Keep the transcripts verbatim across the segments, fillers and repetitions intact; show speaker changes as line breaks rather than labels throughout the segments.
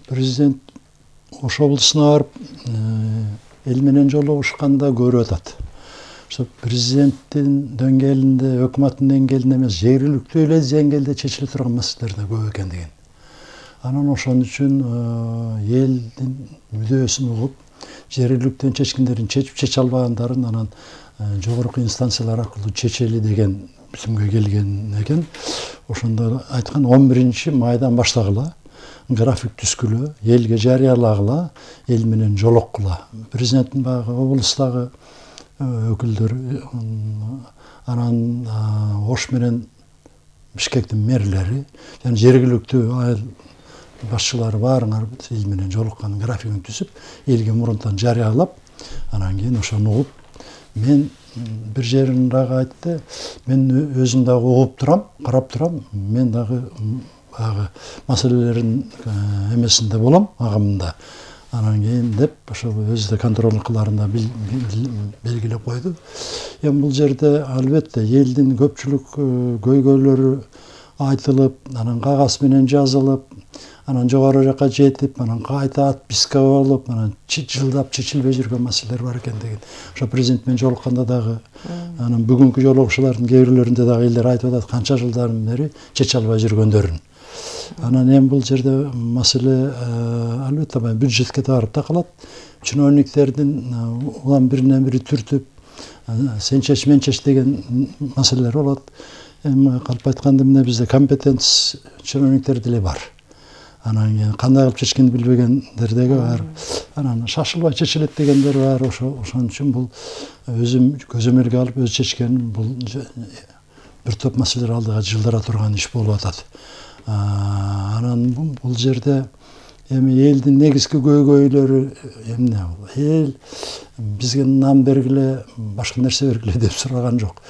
Президент Ош облусуна барып эл менен жолугушканда көрүп атат. Ошо президенттин деңгээлинде, өкмөттүн деңгээлинде эмес, жергиликтүү эле деңгээлде чечиле турган маселелер да көп экен деген. Анан ошон үчүн элдин мүдөөсүн угуп, жергиликтүү чечкиндерин чечип, чече албагандарын анан жогорку инстанциялар аркылуу чечели деген бүтүмгө келген экен. Ошондо айткан он биринчи майдан баштагыла, график түзгүлө, элге жарыялагыла, эл менен жолуккула. Президенттин баягы облустагы өкүлдөр, анан Ош менен Бишкектин мэрлери, жана жергиликтүү айыл башчылары баарыңар эл менен жолуккан графигин түзүп, элге мурунтан жарыялап, анан кийин ошону угуп, мен бир жерин дагы айтты, мен өзүм дагы угуп турам, карап турам, мен дагы баягы маселелерин эмесинде болом, агымында. Анан кийин деп ошо өзү да контроль кыларында белгилеп койду. Эми бул жерде албетте элдин көпчүлүк көйгөйлөрү айтылып, анан кагаз менен жазылып, анан жогору жака жетип, анан кайта отписка болуп, анан жылдап чечилбей жүргөн маселелер бар экен деген. Ошо президент менен жолукканда дагы, анан бүгүнкү жолугушуулардын кээ бирлеринде дагы элдер айтып атат, канча жылдан бери чече албай жүргөндөрүн. Анан эми бул жерде маселе албетте бюджетке барып такалат. Чиновниктердин улам биринен бири түртүп, сен чеч, мен чеч деген маселелер болот. Эми калп айтканда эмне бизде компетенц чиновниктер деле бар. Анан кандай кылып чечкенди билбегендер деги бар. Анан шашылбай чечилет дегендер бар. Ошо ошон үчүн бул өзүм көзөмөлгө алып өз чечкеним, бул бир топ маселелер алдыга жылдыра турган иш болуп атат. Анан бул жерде эми элдин негизги көйгөйлөрү эмне? Эл бизге нам бергиле, башка нерсе бергиле деп сураган жок.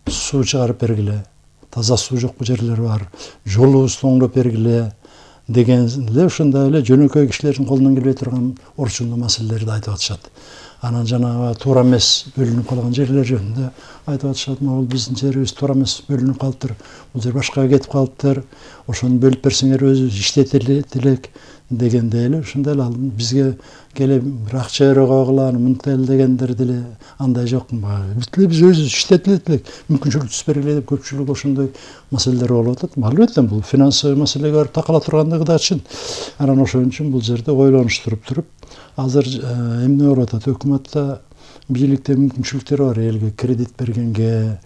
Суу чыгарып бергиле, таза суу жок жерлер бар, жолубузду оңдоп бергиле деген эле ушундай эле жөнөкөй кишилердин колунан келбей турган орчундуу маселелерди айтып атышат. Анан жанагы туура эмес бөлүнүп калган жерлер жөнүндө айтып атышат. Могул биздин жерибиз туура эмес бөлүнүп калыптыр. Бул жер башкага кетип калыптыр. Ошону бөлүп берсеңер өзүбүз иштетелик элек дегендей эле. Ошондой эле бизге келип бир акча берип койгула, мынтип эле дегендер деле андай жок. Бүт эле биз өзүбүз иштетелик элек, мүмкүнчүлүк түзүп бергиле деп көпчүлүк ошондой маселелер болуп атат. Албетте бул финансовый маселеге барып такала тургандыгы да чын. Анан ошон үчүн бул жерде ойлонуштуруп туруп, азыр эмне болуп атат? Өкмөттө, бийликте мүмкүнчүлүктөр бар, элге кредит бергенге,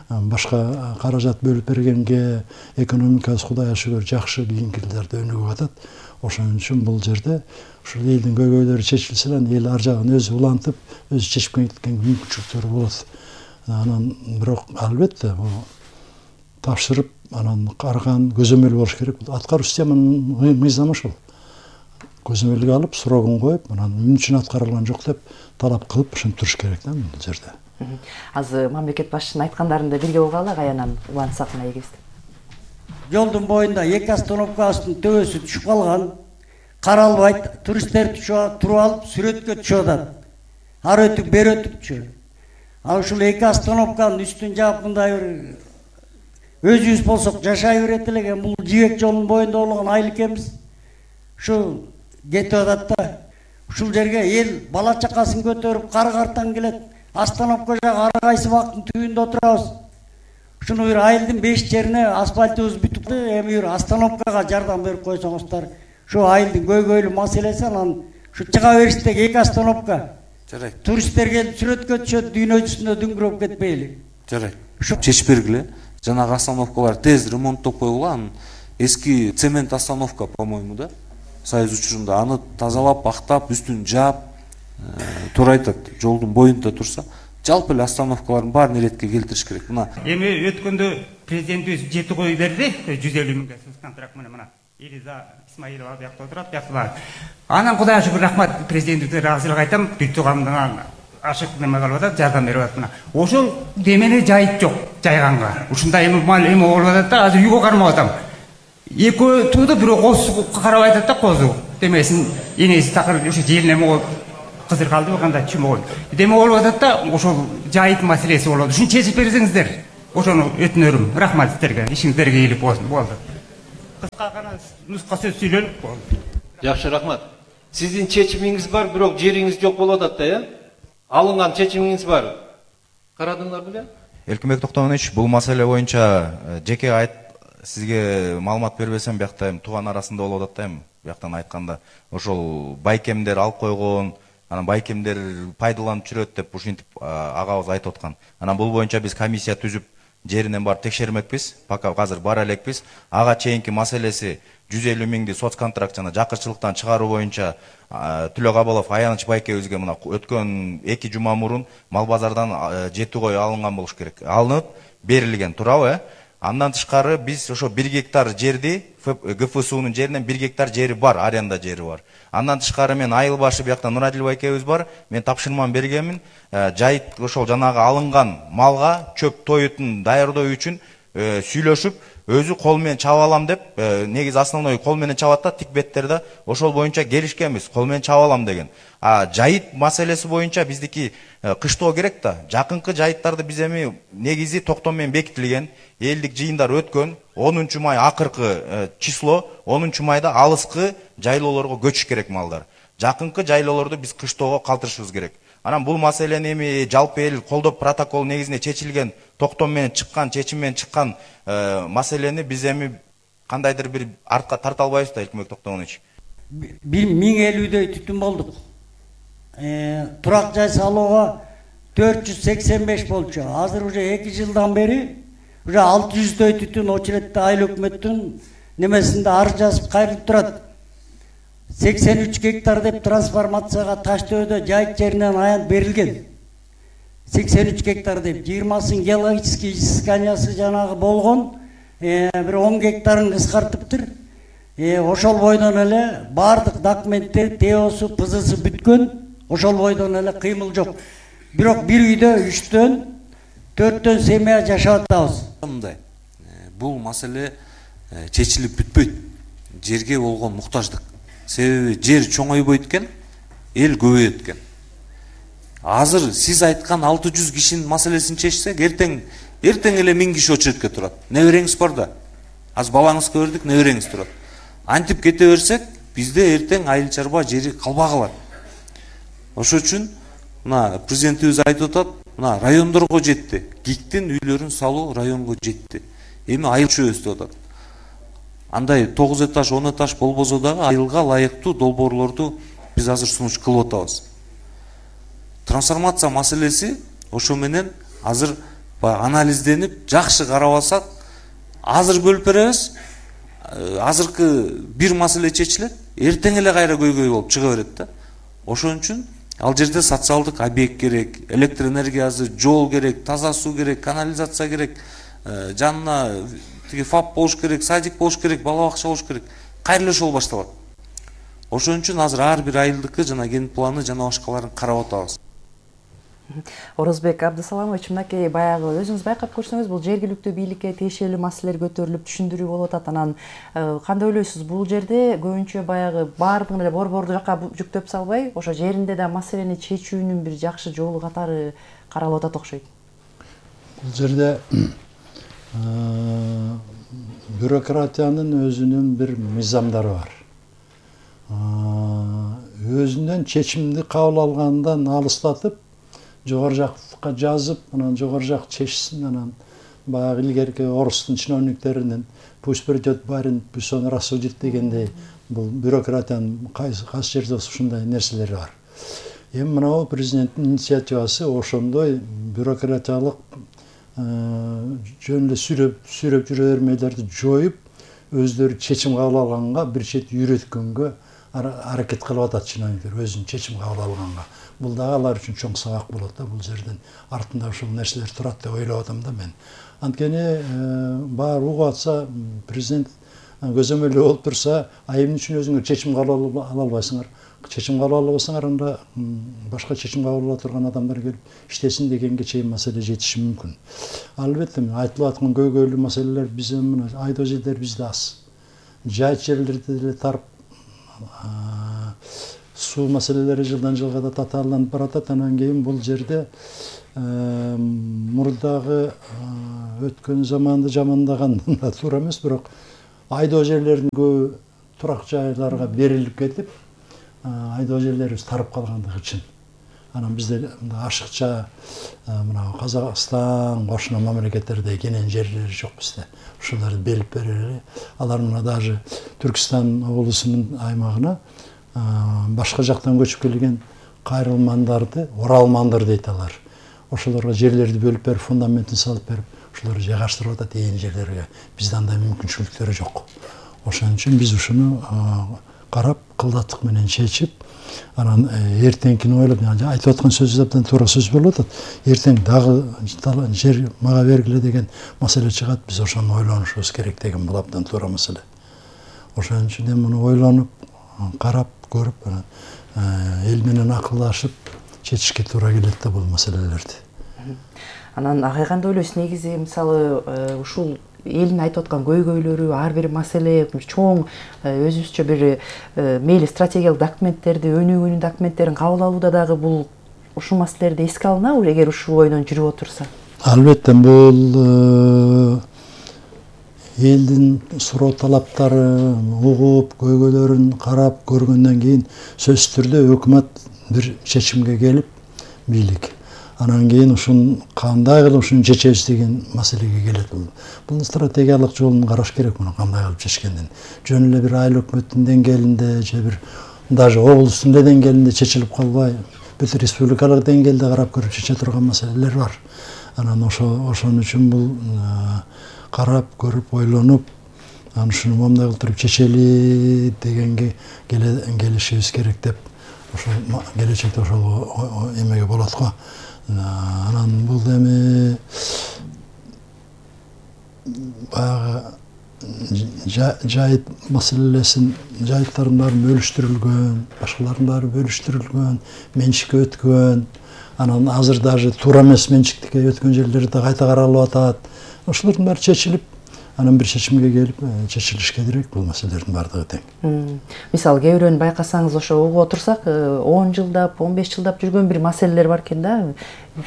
башка каражат бөлүп бергенге, экономикасы Кудайга шүгүр жакшы кийинки жылдарда өнүгүп атат. Ошон үчүн бул жерде ушул элдин көйгөйлөрү чечилсе, эл ар жагын өзү улантып, өзү чечип кеткен мүмкүнчүлүктөр болот. Анан бирок албетте бул тапшырып, анан караган көзөмөл болуш керек. Аткаруу системанын мыйзамы ошол. Көзөмөлгө алып, срогун коюп, анан эмне үчүн аткарылган жок деп талап кылып ошентип туруш керек да бул жерде.
Азыр мамлекет башчынын айткандарында бирге болгула, каянан улантсак мына эгибизди.
Жолдун боюнда эки остановкасынын төбөсү түшүп калган, каралбайт, туристтер туруп алып сүрөткө түшүп атат. Ары өтүп, бери өтүпчү. А ушул эки остановканын үстүн жаап мындай бир өзүбүз болсок жашай берет элек. Бул жибек жолунун боюнда болгон айыл экенбиз. Ушу кетип атат да. Ушул жерге эл бала чакасын көтөрүп, кар картан келет. Остановка жагы ар кайсы бактын түбүндө отурабыз. Ушуну бир айылдын беш жерине асфальтыбыз бүтүп, эми бир остановкага жардам берип койсоңуздар. Ушу айылдын көйгөйлүү маселеси, анан ушу чыга бериштеги эки остановка. Жарайт. Туристтер келип сүрөткө түшөт, дүйнө жүзүндө дүңгүрөп кетпейли. Жарайт. Ушу
чечип бергиле. Жанагы остановкалар тез ремонттоп койгула. Эски цемент остановка, по-моему, да? Союз учурунда аны тазалап, актап, үстүн жаап, туура айтат, жолдун боюнда турса, жалпы эле остановкалардын баарын эретке келтириш керек. Мына
эми өткөндө президентибиз жети кой берди, жүз элүү миңге контракт менен мына Элиза Исмаилова биякта отурат, биякта бар. Анан Кудайга шүгүр, рахмат, президентибизге ыраазычылык айтам, бир тууганымдан ашык неме кылып атат, жардам берип атат. Мына ошол демени жайыт жок, жайганга. Ушундай эми мал эме болуп атат да, азыр үйгө кармап атам. Эки тууду бирөө козу карап айтат да, козу. Демесин энеси такыр ушу желине могу кызыр калдыбы, кандай чүмө. Деме болуп атат да, ошол жайыт маселеси болот. Ушуну чечип берсеңиздер, ошону өтүнөрүм. Рахмат сиздерге, ишиңиздерге ийгилик болсун. Болду. кыска гана нуска сөз сүйлөнүп болду.
Жакшы, рахмат. Сиздин чечимиңиз бар, бирок жериңиз жок болуп атат да, э? Алынган чечимиңиз бар. Карадыңар беле?
Эркинбек Токтомунович, бул маселе боюнча жеке айт сизге маалымат бербесем, биякта эми тууган арасында болуп атат да, эми бияктан айтканда ошол байкемдер алып койгон, анан байкемдер пайдаланып жүрөт деп ушинтип агабыз айтып аткан. Анан бул боюнча биз комиссия түзүп жеринен барып текшермекпиз. Пока азыр бара элекпиз. Ага чейинки маселеси жүз элүү миңди соцконтракт жана жакырчылыктан чыгаруу боюнча Түлө Кабалов Аяныч байкебизге мына өткөн эки жума мурун мал базардан жети кой алынган болуш керек. Алынып берилген, туурабы? Андан тышкары биз ошо бир гектар жерди Г Ф Сунун жеринен бир гектар жери бар, аренда жери бар. Андан тышкары мен айыл башы биякта Нурадил байкебиз бар. Мен тапшырмам бергенмин. Жайыт ошол жанагы алынган малга чөп тоютун даярдоо үчүн сүйлөшүп, өзү кол менен чаба алам деп, негизи основной кол менен чабат да, тик беттерде ошол боюнча келишкенбиз, кол менен чаба алам деген. А жайыт маселеси боюнча биздики кыштоо керек да. Жакынкы жайыттарды биз эми негизи токтом менен бекитилген, элдик жыйындар өткөн, онунчу май акыркы число, онунчу майда алыскы жайлоолорго көчүш керек малдар. Жакынкы жайлоолорду биз кыштоого калтырышыбыз керек. Анан бул маселени эми жалпы эл колдоп протокол негизинде чечилген, токтом менен чыккан, чечим менен чыккан маселени биз эми кандайдыр бир артка тарта албайбыз да, Эркинбек Токтомунович.
миң элүүдөй түтүн болдук. Турак жай салууга төрт жүз сексен беш болчу. Азыр уже эки жылдан бери уже алты жүздөй түтүн очередде айыл өкмөттүн немесинде ар жазып кайрылып турат. сексен үч гектар деп трансформацияга Таштөөдө жайыт жеринен аянт берилген. сексен үч гектар деп жыйырмасын геологический изысканиясы жанагы болгон, бир он гектарын кыскартыптыр. Ошол бойдон эле бардык документтер, теосу, пызысы бүткөн, ошол бойдон эле кыймыл жок. Бирок бир үйдө үчтөн, төрттөн семья жашап атабыз.
Мындай, бул маселе чечилип бүтпөйт. Жерге болгон муктаждык. Себеби жер чоңойбойт экен, эл көбөйөт экен. Азыр сиз айткан алты жүз кишинин маселесин чечсек, эртең эртең эле миң киши очередке турат. Небереңиз бар да. Азыр балаңызга бердик, небереңиз турат. Антип кете берсек, бизде эртең айыл чарба жери калбай калат. Ошол үчүн мына президентибиз айтып атат, мына райондорго жетти. ГИКтин үйлөрүн салуу районго жетти. Эми айыл чөбөз деп атат. Андай тогуз этаж, он этаж болбосо дагы айылга ылайыктуу долбоорлорду биз азыр сунуш кылып атабыз. Трансформация маселеси ошо менен азыр анализденип, жакшы карабасак, азыр бөлүп беребиз. Азыркы бир маселе чечилет, эртең эле кайра көйгөй болуп чыга берет да. Ошон үчүн ал жерде социалдык объект керек, электр энергиясы, жол керек, таза суу керек, канализация керек, жанына ФАП болуш керек, садик болуш керек, бала бакча болуш керек. Кайра эле ошол башталат. Ошон үчүн азыр ар бир айылдыкы жана ген планы жана башкаларын карап атабыз.
Орозбек Абдысаламович, мынакей баягы өзүңүз байкап көрсөңүз, бул жергиликтүү бийликке тиешелүү маселелер көтөрүлүп, түшүндүрүү болуп атат. Анан кандай ойлойсуз, бул жерде көбүнчө баягы баардыгын эле борборду жакка жүктөп салбай, ошо жеринде да маселени чечүүнүн бир жакшы жолу катары каралып атат окшойт.
Бул жерде бюрократиянын өзүнүн бир мыйзамдары бар. Өзүнөн чечимди кабыл алгандан алыстатып, жогору жакка жазып, анан жогору жак чечсин, анан баягы илгерки орустун чиновниктеринин пусть придет барин, пусть он рассудит дегендей, бул бюрократиянын кайсы кайсы жерде ушундай нерселери бар. Эми мына президенттин инициативасы ошондой бюрократиялык жөн эле сүрөп сүрөп жүрө бермейлерди жоюп, өздөрү чечим кабыл алганга бир чет үйрөткөнгө аракет кылып атат чиновниктер, өзүнүн чечим кабыл алганга. Бул дагы алар үчүн чоң сабак болот да, бул жерден артында ушул нерселер турат деп ойлоп атам да мен. Анткени баары угуп атса, президент көзөмөлдүү болуп турса, а эмне үчүн өзүңөр чечим кабыл ала албайсыңар? Чечим кабыл ала албасаңар, анда башка чечим кабыл ала турган адамдар келип иштесин дегенге чейин маселе жетиши мүмкүн. Албетте айтылып аткан көйгөйлүү маселелер биз эми айдоо жерлер бизде аз. Жайыт жерлерде деле тарып суу маселелери жылдан жылга да татааланып баратат. Анан кийин бул жерде мурдагы өткөн заманды жамандаган да туура эмес, бирок айдоо жерлердин көбү турак жайларга берилип кетип, айдоо жерлерибиз тарып калгандыгы үчүн. Анан бизде ашыкча мына Казакстан, кошуна мамлекеттерде кенен жерлери жок бизде. Ушуларды берип берели. Алар мына даже Түркистан облусунун аймагына башка жактан көчүп келген кайрылмандарды оралмандар дейт алар. Ошолорго жерлерди бөлүп берип, фундаментин салып берип, ошолорду жайгаштырып атат ээн жерлерге. Бизде андай мүмкүнчүлүктөр жок. Ошон үчүн биз ушуну карап, кылдаттык менен чечип, анан эртеңкини ойлоп, айтып аткан сөзү абдан туура сөз болуп атат. Эртең дагы жер мага бергиле деген маселе чыгат, биз ошону ойлонушубуз керек деген бул абдан туура маселе. Ошон үчүн муну ойлонуп, карап, көрүп, эл менен акылдашып чечишке туура келет да бул маселелерди.
Анан ага кандай ойлойсуз? Негизи мисалы ушул элдин айтып аткан көйгөйлөрү, ар бир маселе чоң өзүбүзчө бир мейли стратегиялык документтерди, өнүгүүнүн документтерин кабыл алууда дагы бул ушул маселелерди эске алынабы, эгер ушул бойдон жүрүп отурса?
Албетте, бул элдин суроо талаптары угуп, көйгөйлөрүн карап көргөндөн кийин сөзсүз түрдө өкмөт бир чечимге келип, бийлик. Анан кийин ушун кандай кылып ушуну чечебиз деген маселеге келет. Бул стратегиялык жолун караш керек, муну кандай кылып чечкенден. Жөн эле бир айыл өкмөттүн деңгээлинде же бир даже облустун эле деңгээлинде чечилип калбай, бүт республикалык деңгээлде карап көрүп чече турган маселелер бар. Анан ошо ошон үчүн бул карап көрүп, ойлонуп, анан ушуну момундай кылып туруп чечели дегенге келишибиз керек деп, ошол келечекте ошол эмеге болот го. Анан бул эми баягы жайыт маселесин, жайыттардын баары бөлүштүрүлгөн, башкалардын баары бөлүштүрүлгөн, менчикке өткөн, анан азыр даже туура эмес менчиктикке өткөн жерлер да кайта каралып атат. Ошолордун баары чечилип, анан бир чечимге келип, чечилишке керек бул маселелердин баардыгы тең.
Мисалы, кээ бирөөнү байкасаңыз, ошо угуп отурсак, он жылдап, он беш жылдап жүргөн бир маселелер бар экен да.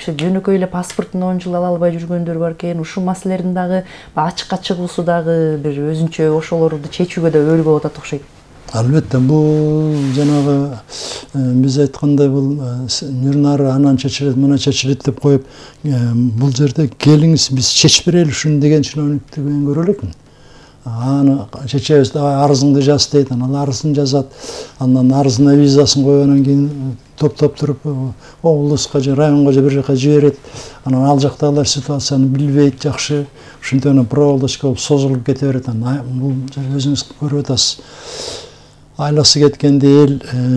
Жөнөкөй эле паспортун он жыл ала албай жүргөндөр бар экен. Ушул маселелердин дагы ачыкка чыгуусу дагы бир өзүнчө ошолорду чечүүгө да өбөл болуп атат окшойт.
Албетте, бул жанагы биз айткандай бул нурнары анан чечилет, мына чечилет деп коюп, бул жерде келиңиз биз чечип берели ушуну деген чиновниктен көрө элекмин. Аны чечебиз, арызыңды жаз дейт, анан арызын жазат, анан арызына визасын койгондон кийин топтоп туруп облуска же районго же бир жака жиберет. Анан ал жактагылар ситуацияны билбейт жакшы, ушинтип проволочка болуп созулуп кете берет. Анан бул өзүңүз көрүп атасыз. Айласы кеткенде эл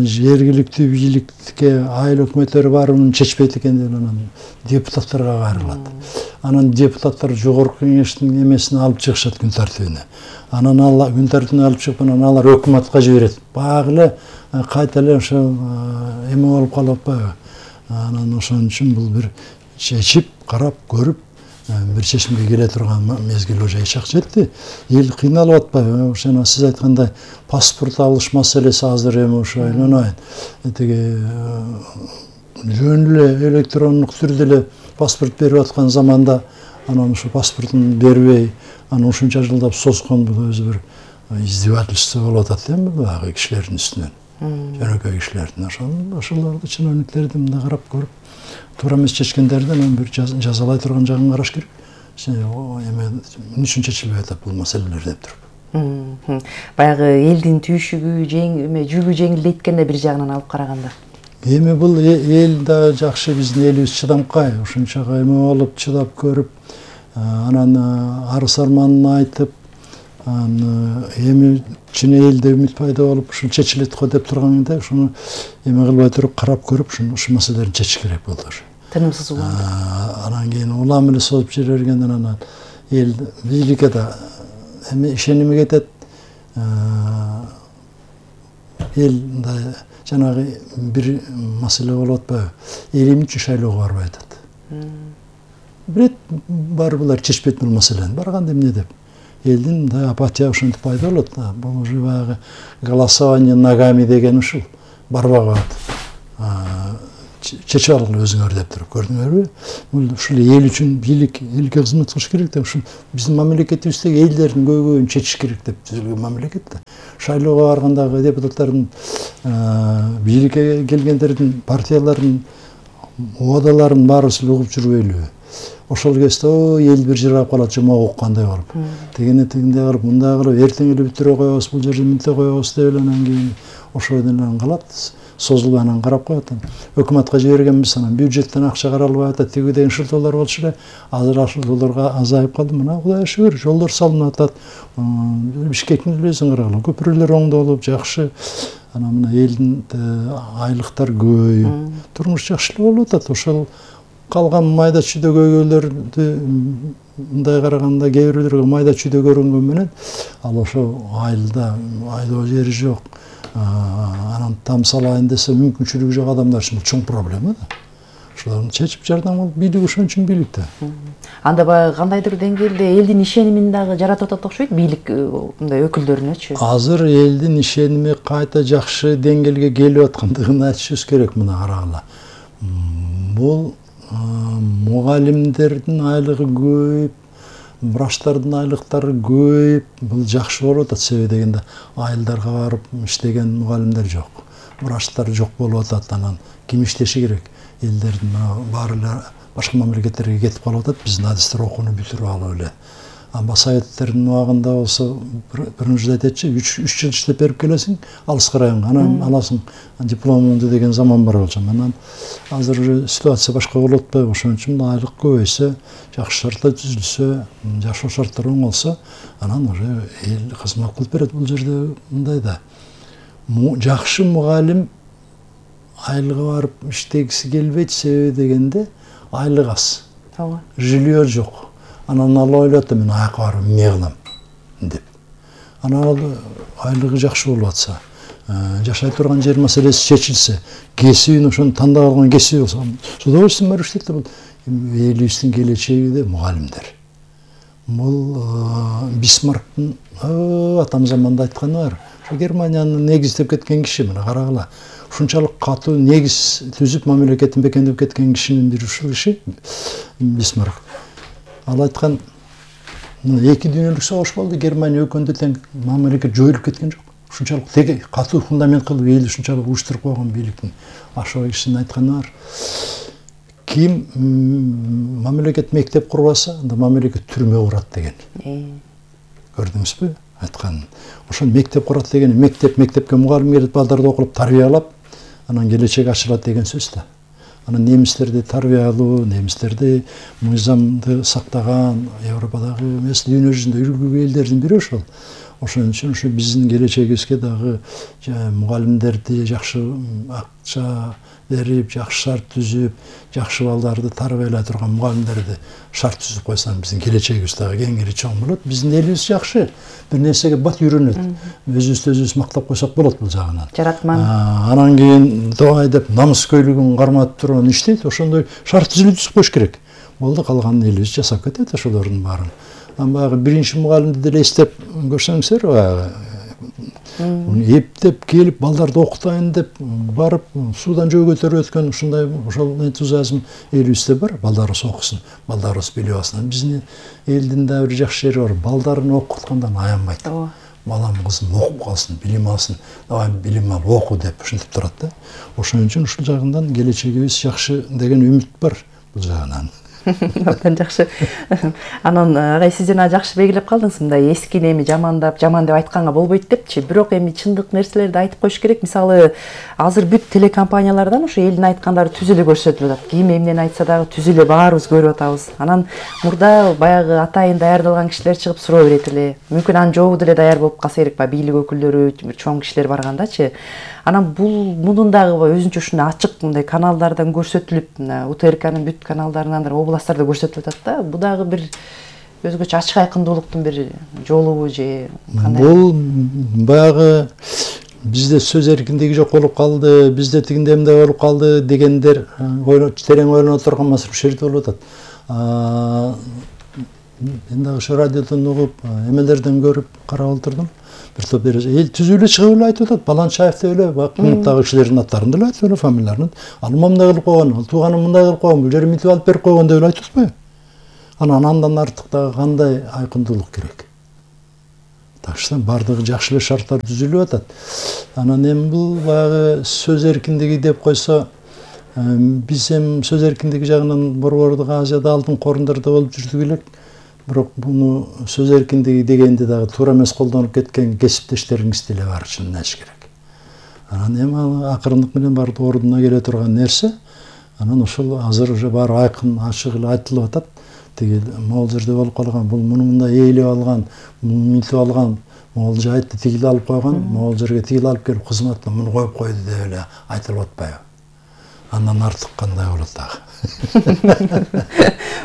жергиликтүү бийликке айыл өкмөттөрү барып муну чечпейт экен деп анан депутаттарга кайрылат. Анан депутаттар жогорку кеңештин эмесин алып чыгышат күн тартибине. Анан ал күн тартибине алып чыгып, анан алар өкмөткө жиберет. Баягы эле кайта эле ошо эме болуп калып атпайбы? Анан ошон үчүн бул бир чечип, карап, көрүп бир чечимге келе турган мезгил уже чак жетти. Эл кыйналып атпайбы? Ошону сиз айткандай паспорт алыш маселеси азыр эми ошо айланайын. Тиги жөн эле электрондук түрдө эле паспорт берип аткан заманда анан ошо паспортун бербей, анан ушунча жылдап соскон бул өзү бир издевательство болуп атат эми баягы кишилердин үстүнөн. Жөнөкөй кишилердин ошолорду чиновниктерди мындай карап көрүп, туура эмес чечкендерди анан бир жазалай турган жагын караш керек. Эме эмне үчүн чечилбей атат бул маселелер деп туруп.
Баягы элдин түйшүгү, эме жүгү жеңилдейт экен да бир жагынан алып караганда.
Эми бул эл да жакшы, биздин элибиз чыдамкай, ушунчага эме болуп чыдап көрүп, анан арыз арманын айтып, анан эми чын элде үмүт пайда болуп, ушул чечилет го деп турганда, ушуну эме кылбай туруп карап көрүп, ушул маселелерди чечиш керек болду.
Тынымсыз улам.
Анан кийин улам эле созуп жибергенден анан эл бийликке да эми ишеними кетет. Эл мындай жанагы бир маселе болуп атпайбы? Эл эмне үчүн шайлоого барбай атат? Бирет бар булар чечпейт бул маселени. Барганда эмне деп? Элдин мындай апатия ушинтип пайда болот. Бул уже баягы голосование ногами деген ушул. Барбай калат. чечип алгыла өзүңөр деп туруп, көрдүңөрбү? Бул ушул эл үчүн бийлик, элге кызмат кылыш керек да. Ушул биздин мамлекетибиздеги элдердин көйгөйүн чечиш керек деп түзүлгөн мамлекет да. Шайлоого баргандагы депутаттардын, бийликке келгендердин, партиялардын убадаларын баарыбыз угуп жүрбөйлүбү? Ошол кезде о эл бир жыргап калат, жомок уккандай болуп. Тегине тигиндей кылып, мындай кылып, эртең эле бүтүрө коебуз, бул жерде мынтип коебуз деп эле анан кийин ошол менен калат. Созулуп анан карап коет. Өкмөткө жибергенбиз, анан бюджеттен акча каралбай атат, тиги деген шылтоолор болчу эле. Азыр шылтоолорго азайып калды. Мына Кудайга шүгүр, жолдор салынып атат. Бишкектин элесин карагыла, көпүрөлөр оңдолуп, жакшы. Анан мына элдин айлыктар көбөйүп, турмуш жакшылап болуп атат. Ошол калган майда чүйдө көйгөйлөрдү мындай караганда кээ бирлерге майда чүйдө көрүнгөн менен ал ошо айылда айлоо жери жок, анан там салайын десе мүмкүнчүлүгү жок адамдар үчүн бул чоң проблема да. Ошолорду чечип жардам кылып, бийлик ошон үчүн бийлик да.
Анда баягы кандайдыр деңгээлде элдин ишенимин дагы жаратып атат окшойт бийлик мындай өкүлдөрүнөчү.
Азыр элдин ишеними кайта жакшы деңгээлге келип аткандыгын айтышыбыз керек. Мына карагыла. Бул мугалимдердин айлыгы көбөйүп, врачтардын айлыктары көбөйүп, бул жакшы болуп атат. Себеби дегенде айылдарга барып иштеген мугалимдер жок, врачтар жок болуп атат. Анан ким иштеши керек? Элдердин баары эле башка мамлекеттерге кетип калып атат. Биздин адистер окууну бүтүрүп алып эле. Amba советтердин убагында болсо биринчи жыл айтчы, үч жыл иштеп берип келесиң, алыска районго, анан аласың дипломуңду деген заман бар болчу. Анан азыр ситуация башка болуп атпайбы? Ошон үчүн айлык көбөйсө, жакшы шарттар түзүлсө, жашоо шарттары оңолсо, анан уже эл кызмат кылып берет. Бул жерде мындай да. Жакшы мугалим айлыгы барып иштегиси келбейт, себеби дегенде айлык аз.
Ооба.
Жилье жок. Анан ал ойлойт, мен аяка барып эмне кылам деп. Анан ал айлыгы жакшы болуп атса, жашай турган жер маселеси чечилсе, кесибин ошону тандап алган кесиби болсо, с удовольствием барып иштейт да. Бул элибиздин келечеги де мугалимдер. Бул Бисмарктын атам заманда айтканы бар. Германияны негиздеп кеткен киши, мына карагыла. Ушунчалык катуу негиз түзүп мамлекетин бекемдеп кеткен кишинин бири ушул киши Бисмарк. Ал айткан, эки дүйнөлүк согуш болду, Германия өкөндө тең мамлекет жоюлуп кеткен жок. Ушунчалык теге катуу фундамент кылып эл ушунчалык уюштуруп койгон бийликтин ашыгы кишинин айтканы бар. Ким мамлекет мектеп курбаса, анда мамлекет түрмө курат деген. Көрдүңүзбү? Айткан. Ошон мектеп курат деген, мектеп мектепке мугалим келип балдарды окуп тарбиялап, анан келечек ачылат деген сөз да. Анан немистерди тарбиялоо, немистерди мыйзамды сактаган, Европадагы эмес, дүйнө жүзүндө үлгү элдердин бири ошол. Ошон үчүн ушу биздин келечегибизге дагы мугалимдерди жакшы акча берип, жакшы шарт түзүп, жакшы балдарды тарбиялай турган мугалимдерди шарт түзүп койсоң, биздин келечегибиз дагы кеңири чоң болот. Биздин элибиз жакшы, бир нерсеге бат үйрөнөт. Өзүбүздү өзүбүз мактап койсок болот бул жагынан.
Жаратман.
Анан кийин давай деп намыскөйлүгүн карматып турган иштейт. Ошондой шарт түзүп коюш керек. Болду, калганын элибиз жасап кетет ошолордун баарын. Анан баягы биринчи мугалимди деле эстеп көрсөңүздөр, баягы эптеп келип балдарды окутайын деп барып суудан жөө көтөрүп өткөн ушундай ошол энтузиазм элибизде бар. Балдарыбыз окусун, балдарыбыз билип алсын. Биздин элдин да бир жакшы жери бар. Балдарын окуткандан аянбайт. Балам кызым окуп калсын, билим алсын. Давай билим ал, оку деп ушинтип турат да. Ошон үчүн ушул жагынан келечегибиз жакшы деген үмүт бар бул жагынан.
Абдан жакшы. Анан агай сиз жана жакшы белгилеп калдыңыз, мындай эскини эми жамандап, жаман деп айтканга болбойт депчи. Бирок эми чындык нерселерди айтып коюш керек. Мисалы, азыр бүт телекомпаниялардан ошо элдин айткандары түз эле көрсөтүлүп атат. Ким эмнени айтса дагы түз эле баарыбыз көрүп атабыз. Анан мурда баягы атайын даярдалган кишилер чыгып суроо берет эле. Мүмкүн анын жообу деле даяр болуп калса керек, баягы бийлик өкүлдөрү, бир чоң кишилер баргандачы. Анан бул мунун дагы өзүнчө ушундай ачык мындай каналдардан көрсөтүлүп, УТРКнын бүт каналдарынан, областтарда көрсөтүлүп атат да. Бул дагы бир өзгөчө ачык айкындуулуктун бир жолубу же кандай?
Бул баягы бизде сөз эркиндиги жок болуп калды, бизде тигиндей мындай болуп калды дегендер терең ойлоно турган маселе ушул жерде болуп атат. Мен дагы ошо радиодон угуп, эмелерден көрүп карап отурдум. бир топ эл түзүп эле чыгып эле айтып атат. Баланчаев деп эле баягы кымматтагы кишилердин аттарын деле айтып эле, фамилияларын. Ал мындай кылып койгон, ал тууганым мындай кылып койгон, бул жерин мынтип алып берип койгон деп эле айтып атпайбы? Анан андан артык дагы кандай айкындуулук керек? Так что бардыгы жакшы эле шарттар түзүлүп атат. Анан эми бул баягы сөз эркиндиги деп койсо, биз эми сөз эркиндиги жагынан Борбордук Азияда алдыңкы орундарда болуп жүрдүк элек. Бирок буну сөз эркиндиги дегенди дагы туура эмес колдонуп кеткен кесиптештериңиз деле бар, чынын айтыш керек. Анан эми акырындык менен баардык ордуна келе турган нерсе, анан ошол азыр уже баары айкын, ачык эле айтылып атат. Тиги могул жерде болуп калган, бул муну мындай ээлеп алган, муну мынтип алган, могул жайтты тигил алып койгон, могул жерге тигил алып келип кызматына муну коюп койду деп эле айтылып атпайбы? Андан артык кандай болот дагы?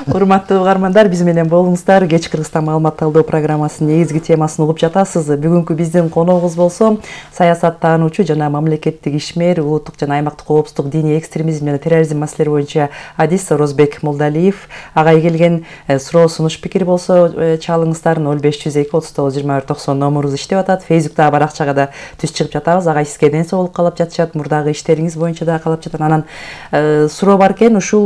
Урматтуу угармандар, биз менен болуңуздар. Кеч Кыргызстан маалымат талдоо программасынын негизги темасын угуп жатасыз. Бүгүнкү биздин коногубуз болсо саясаттануучу жана мамлекеттик ишмер, улуттук жана аймактык коопсуздук, диний экстремизм жана терроризм маселелери боюнча адис Орозбек Молдалиев. Ага келген суроо, сунуш, пикир болсо чалыңыздар. ноль беш жүз эки отуз тогуз жыйырма бир токсон номурубуз иштеп атат. Фейсбуктагы баракчага да түз чыгып жатабыз. Ага сизге ден соолук каалап жатышат, мурдагы иштериңиз боюнча да каалап жатат. Анан суроо бар экен, ушул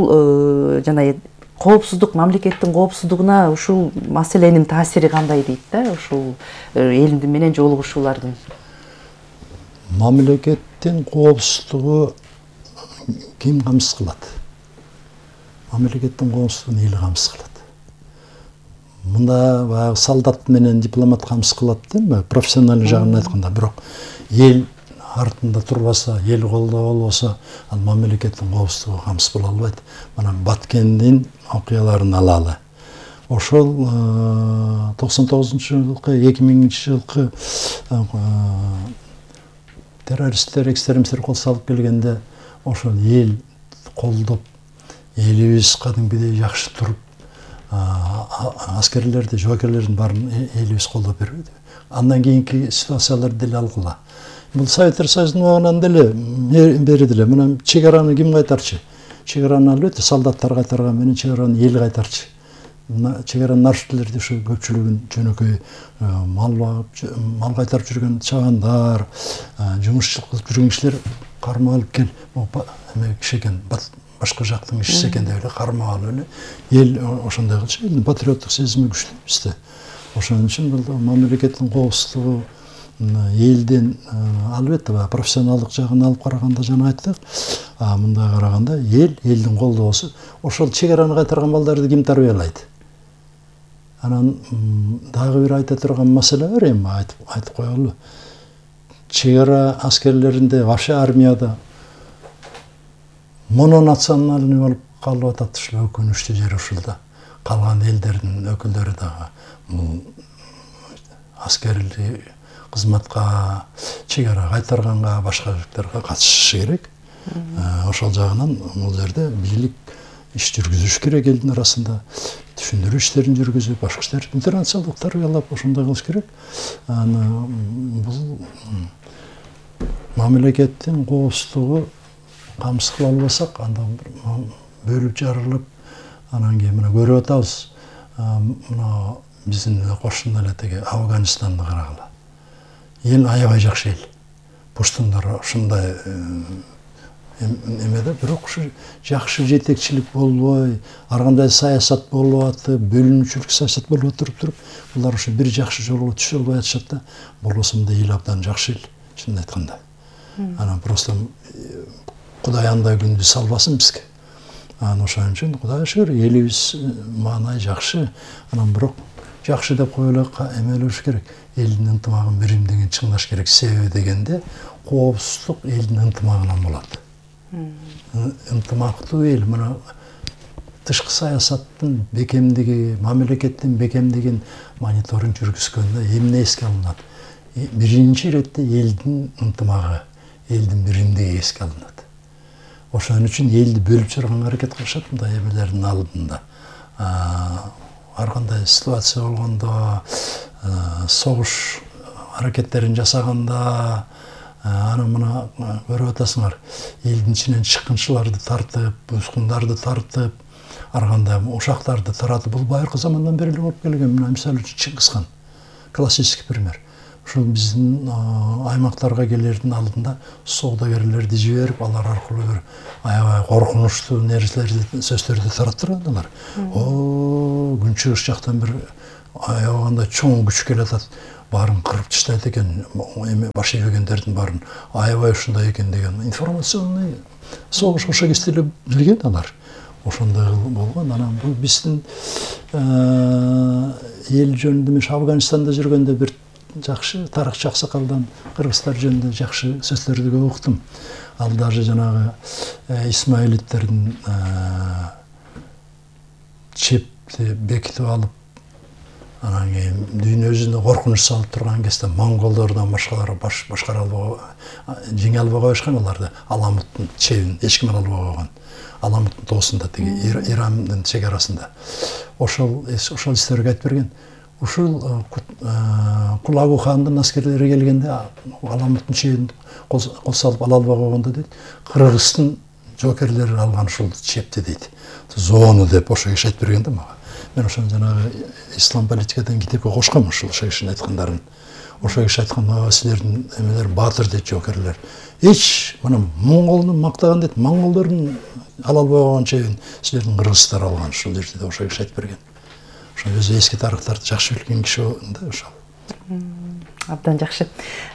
жана коопсуздук, мамлекеттин коопсуздугуна ушул маселенин таасири кандай дейт да, ушул эл менен жолугушуулардын?
Мамлекеттин коопсуздугу ким камсыз кылат? Мамлекеттин коопсуздугун эл камсыз кылат. Мында баягы солдат менен дипломат камсыз кылат дейм, профессионалдык жагын айтканда, бирок эл артында турбаса, ел колдо болбосо, ал мамлекеттин коопсуздугу камсыз боло албайт. Мына Баткендин окуяларын алалы. Ошол токсон тогузунчу жылкы, эки миңинчи жылкы террористтер, экстремисттер кол салып келгенде, ошол эл колдоп, элибиз кадимгидей жакшы туруп, аскерлерди, жоокерлердин баарын элибиз колдоп бербеди. Андан кийинки ситуацияларды деле алгыла. Бул Советтер Союзунун убагынан деле бери деле мына чек араны ким кайтарчы? Чек араны албетте солдаттар кайтарган менен чек араны эл кайтарчы. Чек аранын арширлерди ушу көпчүлүгүн жөнөкөй мал багып, мал кайтарып жүргөн чабандар, жумушчулук кылып жүргөн кишилер кармап алып кел, эме киши экен, башка жактын кишиси экен деп эле кармап алып эле эл ошондой кылчу. Элдин патриоттук сезими күчтүү бизде. Ошон үчүн бул мамлекеттин коопсуздугу элдин албетте профессионалдык жагын алып караганда жана айттык. Мындай караганда эл, элдин колдоосу. Ошол чек араны кайтарган балдарды ким тарбиялайт? Анан дагы бир айта турган маселе бар эми, айтып айтып коелу. Чек ара аскерлеринде, вообще армияда мононациональный болуп калып атат. Ушул өкүнүчтүү жери ушул да. Калган элдердин өкүлдөрү дагы бул аскерли кызматка, чек ара кайтарганга, башка жактарга катышышы керек. Ошол жагынан бул жерде бийлик иш жүргүзүш керек, элдин арасында түшүндүрүү иштерин жүргүзүп, башка иштер, интернационалдык тарбиялап ошондой кылыш керек. Аны бул мамлекеттин коопсуздугу камсыз кыла албасак, анда бөлүп жарылып, анан кийин мына көрүп атабыз. Мына биздин кошуна эле теги Афганистанды карагыла. Эл аябай жакшы эл. Пуштундар ушундай эмеде, бирок ушу жакшы жетекчилик болбой, ар кандай саясат болуп атып, бөлүнүүчүлүк саясат болуп туруп туруп, булар ушу бир жакшы жолго түшө албай атышат да. Болбосо мындай эл абдан жакшы эл, чынын айтканда. Анан просто Кудай андай күндү салбасын бизге. Анан ошон үчүн Кудайга шүгүр, элибиз маанай жакшы. Анан бирок жакшы деп кое эле эмелеш керек. Элдин ынтымагын биримдигин чыңдаш керек. Себеби дегенде коопсуздук элдин ынтымагынан болот. Ынтымактуу эл мына тышкы саясаттын бекемдиги, мамлекеттин бекемдигин мониторинг жүргүзгөндө эмне эске алынат? Биринчи иретте элдин ынтымагы, элдин биримдиги эске алынат. Ошон үчүн элди бөлүп жарганга аракет кылышат мындай эмелердин алдында. Ар кандай ситуация болгондо, согуш аракеттерин жасаганда, анан мына көрүп атасыңар, элдин ичинен чыккынчыларды тартып, бузгундарды тартып, ар кандай ушактарды таратып, бул байыркы замандан бери эле болуп келген. Мына мисалы үчүн Чыңгыз хан, классический пример. ушул биздин аймактарга келердин алдында соодагерлерди жиберип, алар аркылуу бир аябай коркунучтуу нерселерди, сөздөрдү таратып турган алар. О, күнчүгүш жактан бир аябагандай чоң күч келатат, баарын кырып таштайт экен, эме баш ийбегендердин баарын аябай ушундай экен деген информационный согуш ошо кезде эле билген алар. Ошондой болгон. Анан бул биздин эл жөнүндө мен Афганистанда жүргөндө бир жакшы тарыхчы аксакалдан кыргыздар жөнүндө жакшы сөздөрдү көп уктум. Ал даже жанагы Исмаилиттердин чепти бекитип алып, анан кийин дүйнө жүзүнө коркунуч салып турган кезде монголдордон башкалар баш башкара албай, жеңе албай коюшкан аларды. Аламуттун чебин эч ким ала албай койгон. Аламуттун тоосунда, тиги Ирандын чек арасында. Ошол ошол истерге айтып берген. Ушул Кулагу хандын аскерлери келгенде Аламуттун чебин кол салып ала албай койгондо дейт, Кыргыздын жокерлери алган ушул чепти дейт. Зону деп ошо киши айтып берген да мага. Мен ошон жанагы ислам политикадан китепке кошком ушул кишинин айткандарын. Ошо киши айткан, силердин эмелер баатыр дейт, жокерлер. Эч мына монголдун мактаган дейт, монголдордун ала албай койгон чебин силердин кыргыздар алган ушул жерде деп ошо киши айтып берген. Ошо өзү эски тарыхтарды жакшы билген киши да ошол.
Абдан жакшы.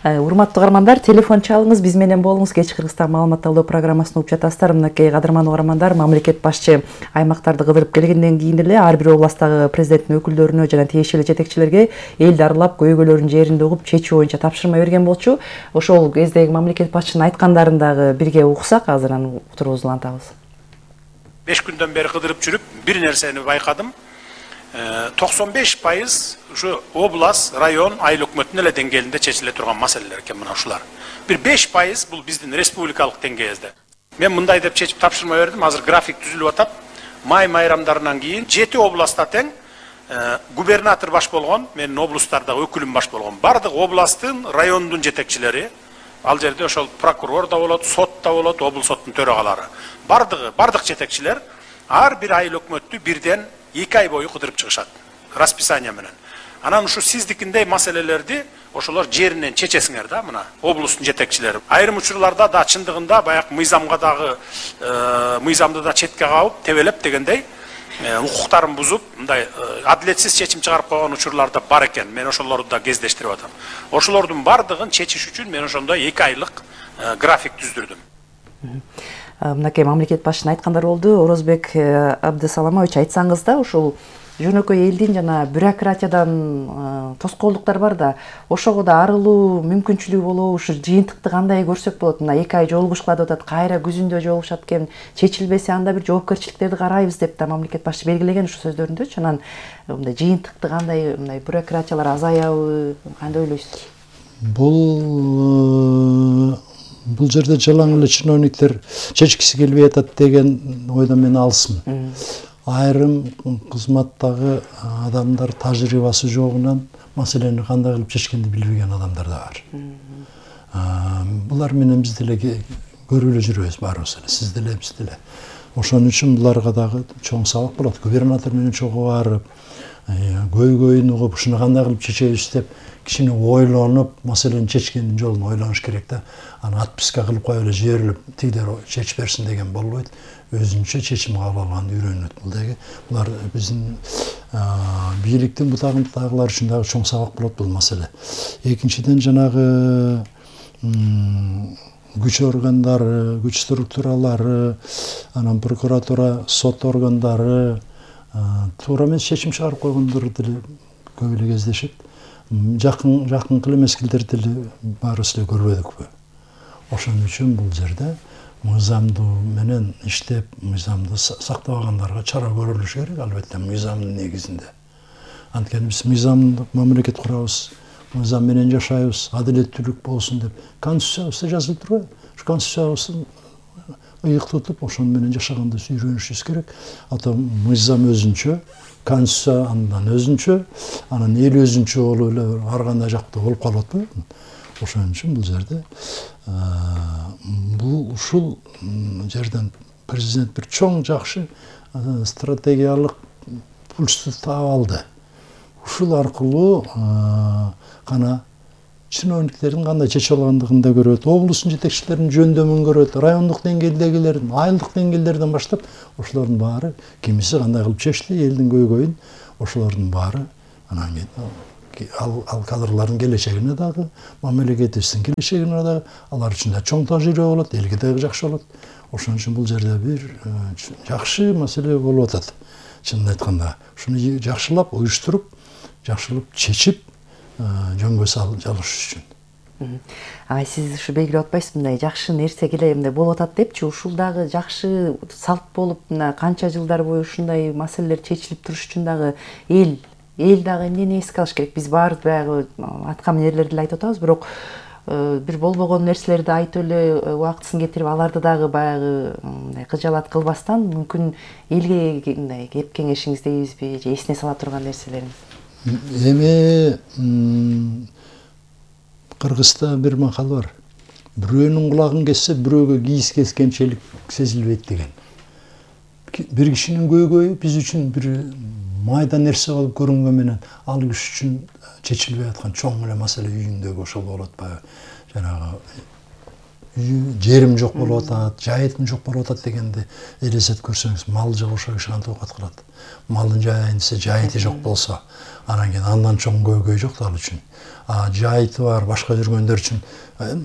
Урматтуу угармандар, телефон чалыңыз, биз менен болуңуз. Кеч Кыргызстан маалымат талдоо программасын угуп жатасыздар. Мынакей кадырман угармандар, мамлекет башчы аймактарды кыдырып келгенден кийин эле ар бир областтагы президенттин өкүлдөрүнө жана тиешелүү жетекчилерге элди аралап, көйгөйлөрүн жеринде угуп, чечүү боюнча тапшырма берген болчу. Ошол кездеги мамлекет башчынын айткандарын дагы бирге уксак, азыр анан утурубузду улантабыз.
беш күндөн бери кыдырып жүрүп, бир нерсени байкадым. токсон беш пайыз ушу область, район, айыл өкмөтүнүн эле деңгээлинде чечиле турган маселелер экен мына ушулар. Бир беш пайыз бул биздин республикалык деңгээлде. Мен мындай деп чечип тапшырма бердим. Азыр график түзүлүп атат. Май майрамдарынан кийин жети областта тең губернатор баш болгон, менин облустарда өкүлүм баш болгон. Бардык областтын, райондун жетекчилери, ал жерде ошол прокурор да болот, сот да болот, облус соттун төрагалары. Бардыгы, бардык жетекчилер ар бир айыл өкмөттү бирден эки ай бою кыдырып чыгышат расписание менен. Анан ушу сиздикиндей маселелерди ошолор жеринен чечесиңер да, мына облустун жетекчилери. Айрым учурларда да чындыгында баягы мыйзамга дагы мыйзамды да четке кабып, тебелеп дегендей укуктарын бузуп, мындай адилетсиз чечим чыгарып койгон учурлар да бар экен. Мен ошолорду да кездештирип атам. Ошолордун бардыгын чечиш үчүн мен ошондой эки айлык график түздүрдүм.
Мынакей мамлекет башчынын айткандары болду. Орозбек Абдысаламович, айтсаңыз да, ушул жөнөкөй элдин жана бюрократиядан тоскоолдуктар бар да, ошого да арылуу мүмкүнчүлүгү болобу, ушу жыйынтыкты кандай көрсөк болот? Мына эки ай жолугушкула деп атат, кайра күзүндө жолугушат экен, чечилбесе анда бир жоопкерчиликтерди карайбыз деп да мамлекет башчы белгилеген ушу сөздөрүндөчү. Анан мындай жыйынтыкты кандай, мындай бюрократиялар азаябы, кандай ойлойсуз?
Бул бул жерде жалаң эле чиновниктер чечкиси келбей атат деген ойдон мен алысмын. Айрым кызматтагы адамдар тажрыйбасы жогунан маселени кандай кылып чечкенди билбеген адамдар да бар. Булар менен биз деле көрүп эле жүрөбүз баарыбыз эле, сиз деле, биз деле. Ошон үчүн буларга дагы чоң сабак болот. Губернатор менен чогуу барып, көйгөйүн угуп, ушуну кандай кылып чечебиз деп кичине ойлонуп, маселени чечкендин жолун ойлонуш керек да. Аны отписка кылып коюп эле жиберилип, тигилер чечип берсин деген болбойт. Өзүнчө чечим кабыл алганды үйрөнөт. Бул дагы булар биздин бийликтин бутагындагылар үчүн дагы чоң сабак болот бул маселе. Экинчиден жанагы күч органдары, күч структуралары, анан прокуратура, сот органдары туура эмес чечим чыгарып койгондор деле көп эле кездешет. Жакын жакынкы мезгилдерде деле баарыбыз эле көрбөдүкпү? Ошон үчүн бул жерде мыйзамдуу менен иштеп, мыйзамды сактабагандарга чара көрүлүш керек, албетте мыйзамдын негизинде. Анткени биз мыйзамдык мамлекет курабыз, мыйзам менен жашайбыз, адилеттүүлүк болсун деп конституциябызда жазылып турбайбы? Ушу конституциябызды ыйык тутуп, ошон менен жашаганды үйрөнүшүбүз керек. Ата мыйзам өзүнчө, конституция андан өзүнчө, анан эл өзүнчө болуп эле ар кандай жакта болуп калып атпайбы? Ошон үчүн бул жерде бул ушул жерден президент бир чоң жакшы стратегиялык пульсту таап алды. Ушул аркылуу гана чиновниктердин кандай чечип алгандыгын да көрөт, облустун жетекчилеринин жөндөмүн көрөт, райондук деңгээлдегилердин, айылдык деңгээлдерден баштап ошолордун баары кимиси кандай кылып чечти, элдин көйгөйүн ошолордун баары анан кийин ал, ал кадрлардын келечегине дагы, мамлекетибиздин келечегине дагы алар үчүн да чоң тажрыйба болот, элге дагы жакшы болот. Ошон үчүн бул жерде бир жакшы маселе болуп атат. Чынын айтканда, ушуну жакшылап, уюштуруп, жакшылап чечип, жөнгө салыш үчүн.
Ай, сиз ушу белгилеп атпайсызбы, мындай жакшы нерсе келе мындай болуп атат депчи, ушул дагы жакшы салт болуп, мына канча жылдар бою ушундай маселелер чечилип туруш үчүн дагы эл эл дагы эмнени эске алыш керек? Биз баарыбыз баягы аткан нерлерди эле айтып атабыз, бирок бир болбогон нерселерди айтып эле убактысын кетирип, аларды дагы баягы мындай кыжаалат кылбастан мүмкүн элге мындай кеп кеңешиңиз дейбизби, же эсине сала турган нерселериңиз?
Эми Кыргызда бир макал бар. Бирөөнүн кулагын кессе, бирөөгө кийиз кескенчелик сезилбейт деген. Бир кишинин көйгөйү биз үчүн бир майда нерсе болуп көрүнгөн менен, ал киши үчүн чечилбей аткан чоң эле маселе үйүндөгү ошол болот баягы. Жанагы жерим жок болуп атат, жайытым жок болуп атат дегенди элестетип көрсөңүз, мал жок ошо киши кантип оокат кылат? Малын жайайын десе, жайыты жок болсо, анан кийин андан чоң көйгөй жок ал үчүн. А жайыты бар, башка жүргөндөр үчүн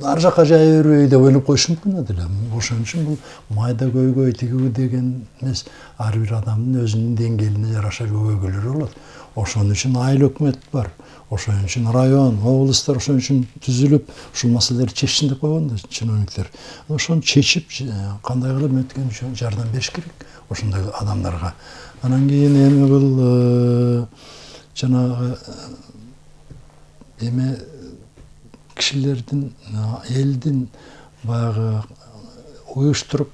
ар жака жая бербей деп ойлоп коюшу мүмкүн эле. Ошон үчүн бул майда көйгөй тигүү деген эмес, ар бир адамдын өзүнүн деңгээлине жараша көйгөйлөрү болот. Ошон үчүн айыл өкмөт бар. Ошон үчүн район, облустар ошон үчүн түзүлүп, ушул маселелерди чечсин деп койгон да чиновниктер. Ошону чечип, кандай кылып өткөн үчүн жардам бериш керек ошондой адамдарга. Анан кийин эми бул жанагы эме кишилердин, элдин баягы уюштуруп,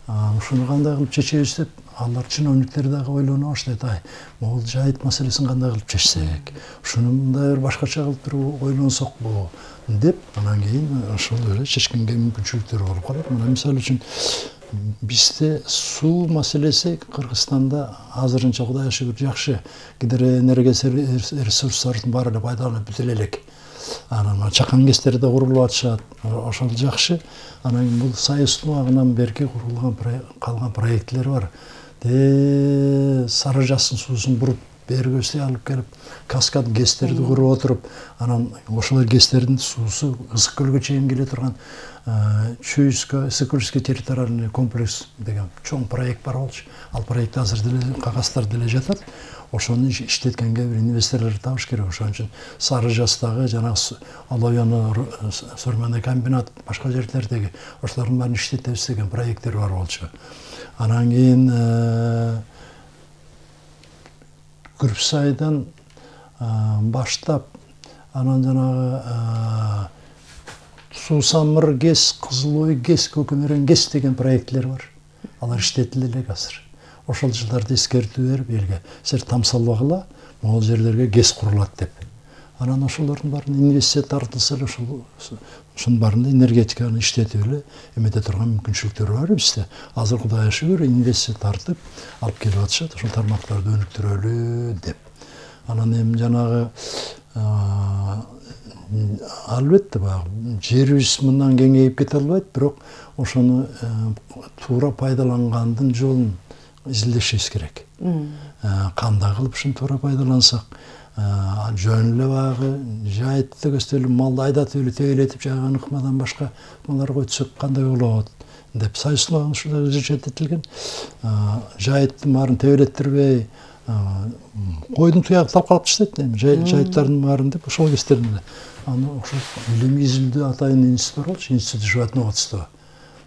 ушуну кандай кылып чечебиз деп, алар чиновниктер дагы ойлоно баштайт. Ай, могул жайыт маселесин кандай кылып чечсек, ушуну мындай бир башкача кылып туруп ойлонсокпу деп, анан кийин ошол эле чечкенге мүмкүнчүлүктөр болуп калат. Мына мисалы үчүн бизде суу маселеси Кыргызстанда азырынча Кудайга шүгүр жакшы. Гидроэнергия ресурстардын баары эле пайдаланып бүтүлө элек. Анан чакан кестери да курулуп атышат. Ошол жакшы. Анан бул Союздун убагынан берки курулган калган проектлер бар. Де Сары Жасын суусун буруп берге өстөй алып келип, каскад гэстерди куруп отуруп, анан ошол гэстердин суусу Ысык көлгө чейин келе турган Чуйско-Сыкульский территориальный комплекс деген чоң проект бар болчу. Ал проект азыр деле кагаздары деле жатат. Ошону иштеткенге бир инвесторлор табыш керек. Ошон үчүн Сары Жастагы жанагы Олояны сурманный комбинат, башка жерлердеги ошолордун баарын иштетебиз деген проекттер бар болчу. Анан кийин Күрпсайдан баштап, анан жанагы Суусамыр ГЭС, Кызыл Ой ГЭС, Көкөмөрөн ГЭС деген проектлер бар. Алар иштетиле элек азыр. Ошол жылдарды эскертүү берип элге, силер тамсалбагыла, могул жерлерге ГЭС курулат деп. Анан ошолордун баарын инвестиция тартылса эле, ошол ошонун баарында энергетиканы иштетип эле эмете турган мүмкүнчүлүктөр бар бизде. Азыр Кудайга шүгүр инвестиция тартып алып келип атышат, ошол тармактарды өнүктүрөлү деп. Анан эми жанагы албетте баягы жерибиз мындан кеңейип кете албайт, бирок ошону туура пайдалангандын жолун изилдешибиз керек. Кандай кылып ушуну туура пайдалансак, жөн эле баягы жайытты көстөлүп, малды айдатып эле төйлөтүп жайган ыкмадан башка малар койсок кандай болот деп Союздун ушундай жететилген. Жайыттын баарын төйлөттүрбөй, койдун туягы талкалап таштайт эми жайыттардын баарын деп ошол кестерин эле. Аны ошол илим изилдөө атайын институт бар болчу, институт животноводства.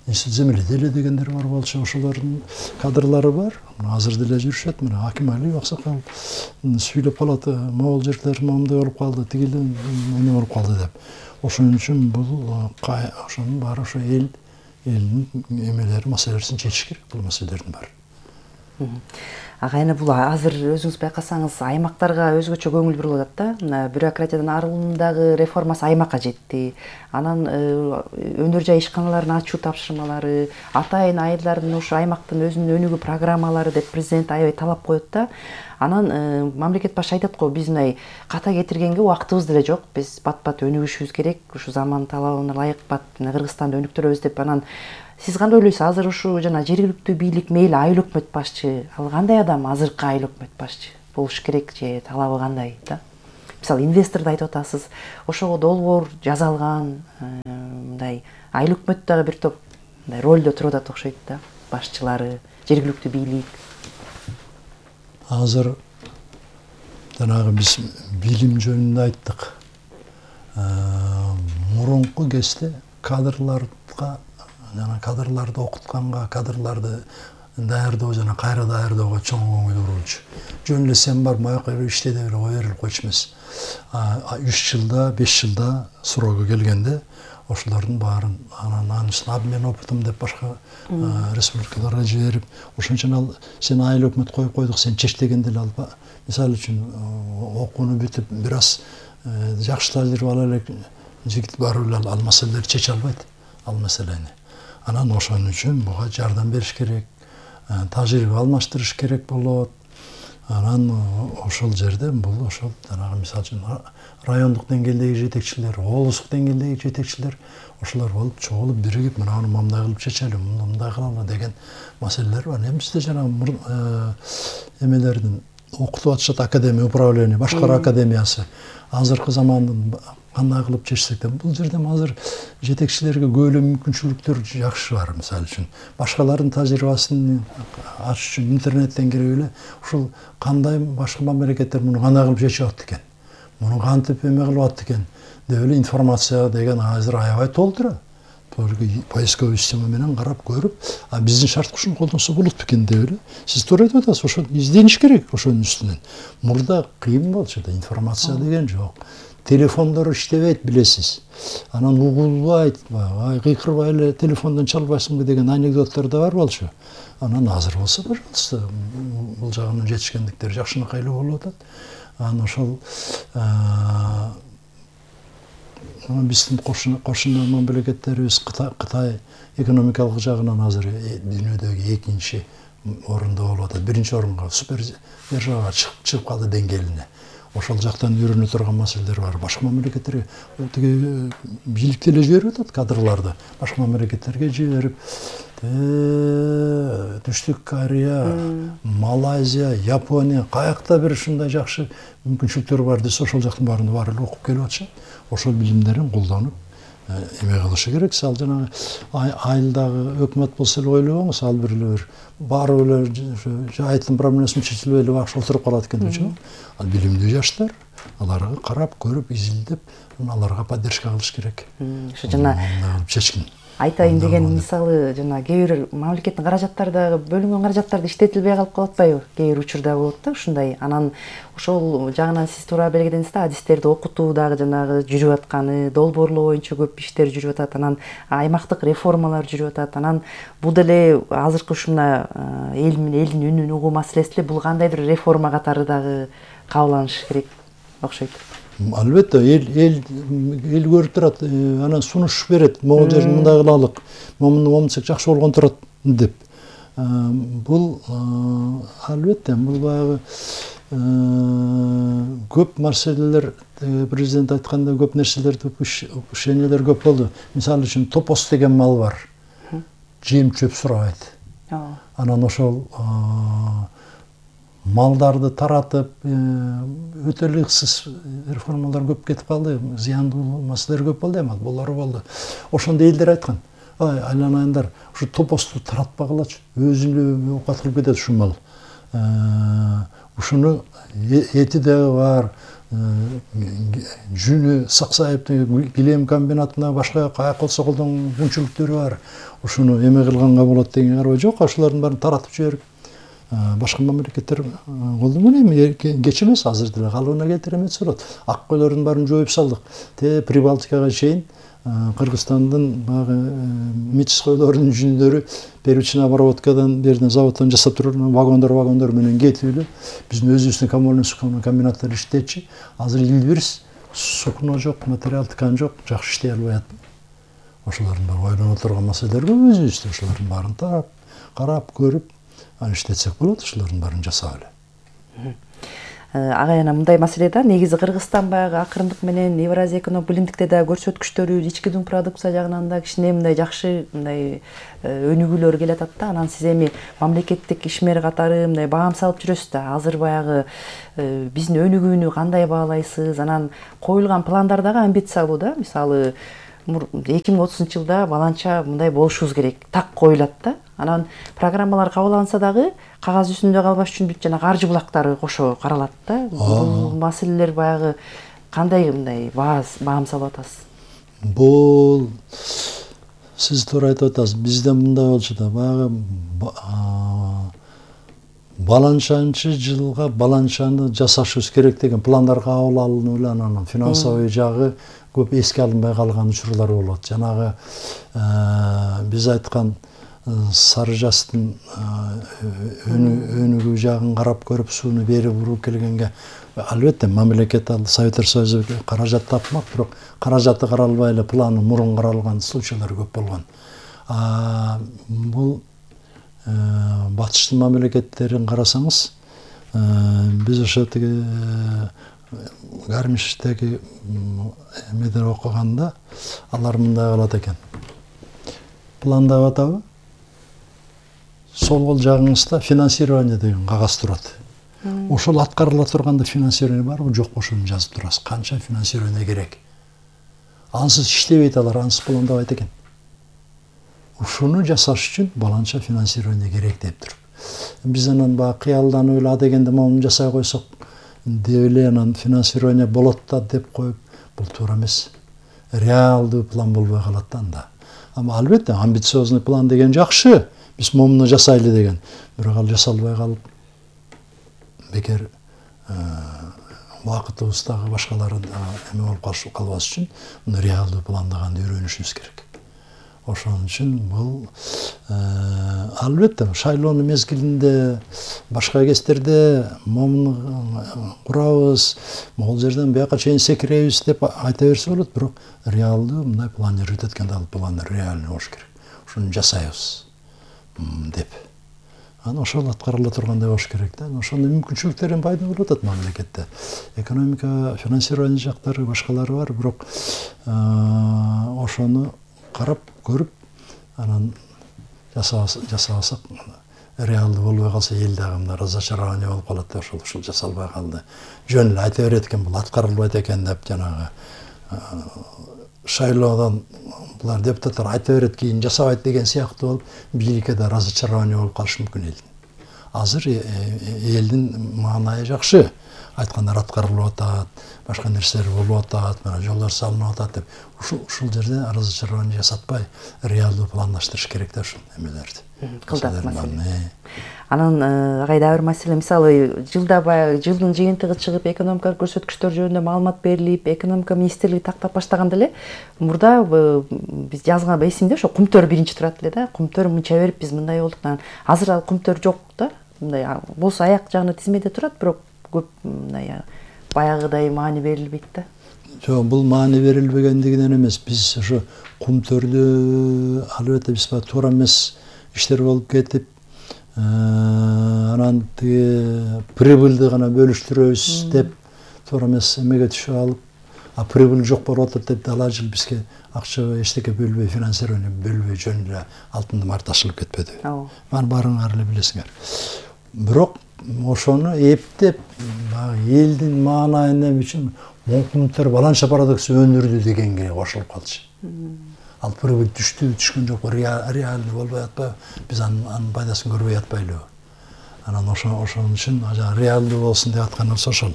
Институт земледелия дегендер бар болчу, ошолордун кадрлары бар. Азыр деле жүрүшөт. Мына Аким Алиев аксакал сүйлөп калат, могул жерлер моундай болуп калды, тигил эме болуп калды деп. Ошон үчүн бул ошонун баары ошо эл элдин эмелери, маселелерин чечиш керек, бул маселелердин баары.
ага эми бул азыр өзүңүз байкасаңыз аймактарга өзгөчө көңүл бурулуп атат да. Мына бюрократиядан арылуунундагы реформасы аймакка жетти. Анан өнөр жай ишканаларын ачуу тапшырмалары, атайын айылдардын ушу аймактын өзүнүн өнүгүү программалары деп президент аябай талап коет да. Анан мамлекет башы айтат го, биз мындай ката кетиргенге убактыбыз деле жок. Биз бат-бат өнүгүшүбүз керек. Ушу заман талабына ылайык бат Кыргызстанды өнүктүрөбүз деп. Анан сиз кандай ойлойсуз? Азыр ушу жана жергиликтүү бийлик мейли айыл өкмөт башчы, ал кандай адам азыркы айыл өкмөт башчы болуш керек же талабы кандай да? Мисалы инвесторду айтып атасыз, ошого долбоор жасалган, мындай айыл өкмөт дагы бир топ мындай ролдо туруп атат окшойт да, башчылары, жергиликтүү бийлик.
Азыр жанагы биз билим жөнүндө айттык. Мурунку кезде кадрларга, жана кадрларды окутканга, кадрларды даярдоо жана кайра даярдоого чоң көңүл бурулчу. Жөн эле сен бар маяка иште деп эле кое берип койчу эмес. үч жылда, беш жылда срогу келгенде ошолордун баарын анан анын үстүнө обмен опытым деп башка республикаларга жиберип, ошон ал сен айыл өкмөт коюп койдук, сен чечтегенде эле алба. Мисалы үчүн окууну бүтүп бир аз жакшы тажрыйба ала элек жигит барып эле ал маселелерди чече албайт, ал маселени. Анан ошон үчүн буга жардам бериш керек, тажрыйба алмаштырыш керек болот. Анан ошол жерде бул ошол жанагы мисалы үчүн райондук деңгээлдеги жетекчилер, облустук деңгээлдеги жетекчилер ошолор болуп чогулуп биригип мынаны мындай кылып чечели, мындай кылалы деген маселелер бар. Эми бизде жанагы эмелердин окутуп атышат академия управления, башкаруу академиясы азыркы замандын кандай кылып чечсек да, бул жерде азыр жетекчилерге көп эле мүмкүнчүлүктөр жакшы бар. Мисалы үчүн башкалардын тажрыйбасын ачыш үчүн интернеттен кирип эле ушул кандай башка мамлекеттер муну кандай кылып чечип атат экен, муну кантип эме кылып атат экен деп эле информация деген азыр аябай толтура. Поисковый система менен карап көрүп, а биздин шарт кушуну колдонсо болот бекен деп эле. Сиз туура айтып атасыз, ошо издениш керек ошонун үстүнөн. Мурда кыйын болчу да, информация деген жок. Телефондор иштебейт, билесиз. Анан угулбайт, ай кыйкырбай эле телефондон чалбайсыңбы деген анекдоттор да бар болчу. Анан азыр болсо, пожалуйста, бул жагынан жетишкендиктер жакшынакай эле болуп атат. Анан ошол биздин кошуна мамлекеттерибиз Кытай экономикалык жагынан азыр дүйнөдөгү экинчи орунда болуп атат. Биринчи орунга супер держава чыгып калды деңгээлине. Ошол жактан үйрөнө турган маселелер бар. Башка мамлекеттерге тиги бийлик деле жиберип атат кадрларды. Башка мамлекеттерге жиберип, Түштүк Корея, Малайзия, Япония, каякта бир ушундай жакшы мүмкүнчүлүктөр бар десе, ошол жактын баарында баары эле окуп келип атышат. Ошол билимдерин колдонуп эме кылышы керек. Ал жанагы айылдагы өкмөт болсо эле ойлобоңуз, ал бир эле бир барып эле жайыттын проблемасын чечилбей эле бакшы отуруп калат экен депчи. Ал билимдүү жаштар, аларга карап, көрүп, изилдеп, аларга поддержка кылыш керек.
Ошо жана
чечкин.
Айтайын деген мисалы жана кээ бир мамлекеттин каражаттары дагы бөлүнгөн каражаттарды иштетилбей калып калып атпайбы? Кээ бир учурда болот да ушундай. Анан ошол жагынан сиз туура белгиледиңиз да, адистерди окутуу дагы жанагы жүрүп атканы, долбоорлоо боюнча көп иштер жүрүп атат. Анан аймактык реформалар жүрүп атат. Анан бул деле азыркы ушуна эл менен элдин үнүн угуу маселеси деле бул кандайдыр реформа катары дагы кабыланышы керек окшойт.
Албетте, эл эл эл көрүп турат, анан сунуш берет, могул жерин мындай кылалык, момуну момунтсек жакшы болгон турат деп. Бул албетте, бул баягы көп маселелер, президент айткандай көп нерселерди упущениялар көп болду. Мисалы үчүн топос деген мал бар. Жем чөп сурабайт. Анан ошол малдарды таратып, өтө ыксыз реформалар көп кетип калды, зыяндуу маселелер көп болду, эми булар болду. Ошондо элдер айткан, ай айланайындар, ушу топосту таратпагылачы, өзүнө оокат кылып кетет ушу мал. Ушуну эти дагы бар, жүнү саксайып, килем комбинатына башка каяк болсо колдон мүмкүнчүлүктөрү бар. Ушуну эме кылганга болот деген карабай жок, ошолордун баарын таратып жиберип башка мамлекеттер колдонгон. Эми кеч эмес, азыр деле калыбына келтире эметсе болот. Ак койлордун баарын жоюп салдык. Те Прибалтикага чейин Кыргызстандын баягы мечискойлордун жүндөрү первичный обработкадан берден заводдон жасап турган вагондор вагондор менен кетип эле биздин өзүбүздүн коммунальный сукно комбинаттар иштечи. Азыр илбирс сукно жок, материал ткань жок, жакшы иштей албай атат. Ошолордун баары ойлонуп турган маселелер көп өзүбүздө. Ошолордун баарын тарап, карап, көрүп, аны иштетсек болот, ошолордун баарын жасап эле.
Агайына мындай маселе да, негизи Кыргызстан баягы акырындык менен Евразия экономик биримдикте да көрсөткүчтөрү ички дун продукция жагынан да кичине мындай жакшы мындай өнүгүүлөр келе атат да. Анан сиз эми мамлекеттик ишмер катары мындай баам салып жүрөсүз да. Азыр баягы биздин өнүгүүнү кандай баалайсыз? Анан коюлган пландар дагы амбициялуу да. Мисалы эки миң отузунчу жылда баланча мындай болушубуз керек, так коюлат да. Анан программалар кабыл алынса дагы кагаз үстүндө калбаш үчүн бүт жана каржы булактары кошо каралат да. Бул маселелер баягы кандай мындай баам салып атасыз?
Бул сиз туура айтып атасыз. Бизде мындай болчу да, баягы баланчанчы жылга баланчаны жасашыбыз керек деген пландар кабыл алынып эле анан финансовый жагы көп эске алынбай калган учурлар болот. Жанагы биз айткан сары жастын өнүгүү жагын карап көрүп сууну бери буруп келгенге албетте мамлекет ал Советтер Союзу каражат тапмак, бирок каражаты каралбай эле планы мурун каралган случайлар көп болгон. Бул батыштын мамлекеттерин карасаңыз, биз ошо тиги Гармиштеги эмеден окуганда алар мындай кылат экен. Пландап атабы? Сол кол жагыңызда финансирование деген кагаз турат. Ошол аткарыла турганда финансирование барбы, жокпу ошону жазып турасыз. Канча финансирование керек? Ансыз иштебейт алар, ансыз пландабайт экен. Ушуну жасаш үчүн баланча финансирование керек деп туруп. Биз анан баягы кыялданып эле а дегенде мону жасай койсок деп эле анан финансирование болот да деп коюп, бул туура эмес. Реалдуу план болбой калат да анда. Ама албетте амбициозный план деген жакшы. Биз момуну жасайлы деген. Бирок ал жасалбай калып бекер убакытыбыздагы башкалары эме болуп калбас үчүн муну реалдуу пландаганды үйрөнүшүбүз керек. Ошон үчүн бул албетте шайлоонун мезгилинде башка кездерде момуну курабыз, могул жерден бияка чейин секиребиз деп айта берсе болот, бирок реалдуу мындай планировать эткенде ал план реальный болуш керек. Ушуну жасайбыз деп. Анан ошол аткарыла тургандай болуш керек да. Ошондой мүмкүнчүлүктөр пайда болуп атат мамлекетте. Экономика, финансирование жактары, башкалары бар, бирок ошону карап көрүп анан жасабасак реалдуу болбой калса эл дагы мына разочарование болуп калат да, ошол ушул жасалбай калды. Жөн эле айта берет экен, бул аткарылбайт экен деп жанагы шайлоодон булар депутаттар айта берет, кийин жасабайт деген сыяктуу болуп, бийликке да разочарование болуп калышы мүмкүн элдин. Азыр элдин маанайы жакшы. Айткандар аткарылып атат, башка нерселер болуп атат, мына жолдор салынып атат деп. Ушул ушул жерде разочарование жасатпай, реалдуу пландаштырыш керек да ушул эмелерди.
Кылдат маселе. Анан агай дагы бир маселе, мисалы жылда баягы жылдын жыйынтыгы чыгып, экономикалык көрсөткүчтөр жөнүндө маалымат берилип, экономика министрлиги тактап баштаганда эле мурда биз жазган эсимде ошо кумтөр биринчи турат эле да. Кумтөр мынча берип биз мындай болдук. Азыр ал кумтөр жок да. Мындай болсо аяк жагына тизмеде турат, бирок көп мындай баягыдай маани берилбейт да.
Жок, бул маани берилбегендигинен эмес. Биз ошо кумтөрдү албетте биз туура эмес иштер болуп кетип, анан тиги прибыльды гана бөлүштүрөбүз деп туура эмес эмеге түшүп алып, а прибыль жок болуп атат деп ала жыл бизге акча эчтеке бөлбөй, финансирование бөлбөй жөн эле алтын март ашылып кетпеди. Мана баарыңар эле билесиңер. Бирок ошону эптеп элдин маанайын үчүн кумтөр баланча продукция өндүрдү дегенге кошулуп калчу. Ал прибыль түштү, түшкөн жок, реальный болбой атпайбы, биз анын пайдасын көрбөй атпайлыбы. Анан ошон үчүн реалдуу болсун деп атканыбыз ошол.